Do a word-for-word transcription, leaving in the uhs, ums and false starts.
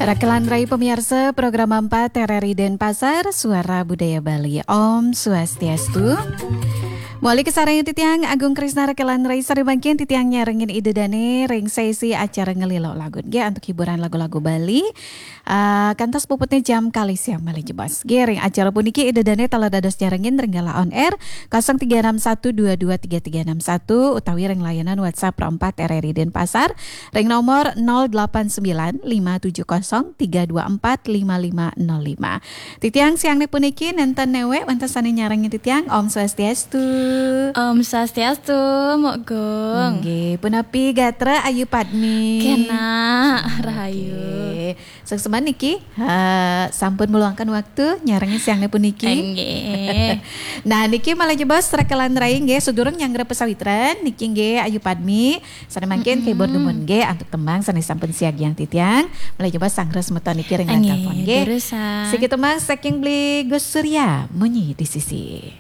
Rakelan rai pamiarsa program empat R R I Denpasar, Suara Budaya Bali. Om Swastiastu. Maulik kasarengin titiang Agung Krisna, rakelan rai, sare mangkin titiang nyarengin Ida Dane ring sesi acara Ngelilo Lagu nggih antuk hiburan lagu-lagu Bali. Ah, kantos puputnya jam kalih siang malih jebos. Nggih, ring acara puniki Ida Dane taler dados nyarengin ring galah on air kosong tiga enam satu dua dua tiga tiga enam satu utawi ring layanan WhatsApp Pro empat R R I Denpasar ring nomor nol delapan sembilan lima tujuh kosong tiga dua empat lima lima nol lima. Titiang siangne puniki nenten newek wenten sane nyarengin titiang. Om Swastiastu. Om Swastiastu, Mbok Gung. Nggih, punapi gatra Ayu Padmi? Kenak, rahayu. Nggih. Suksma niki, ha, sampun meluangkan waktu nyarengin siangne puniki. Nggih. Nah, niki malih jebos rakelan rai nggih, sadurung nyanggra pasawitran niki nggih Ayu Padmi sane mangkin kebur dumun nggih antuk tembang sane sampun siagiang titiang. Malih jebos sanggra semeton niki ring line Nggih, telepon nggih. Durusang. Siki tembang saking Beli Gus Surya, Munyi di Sisi.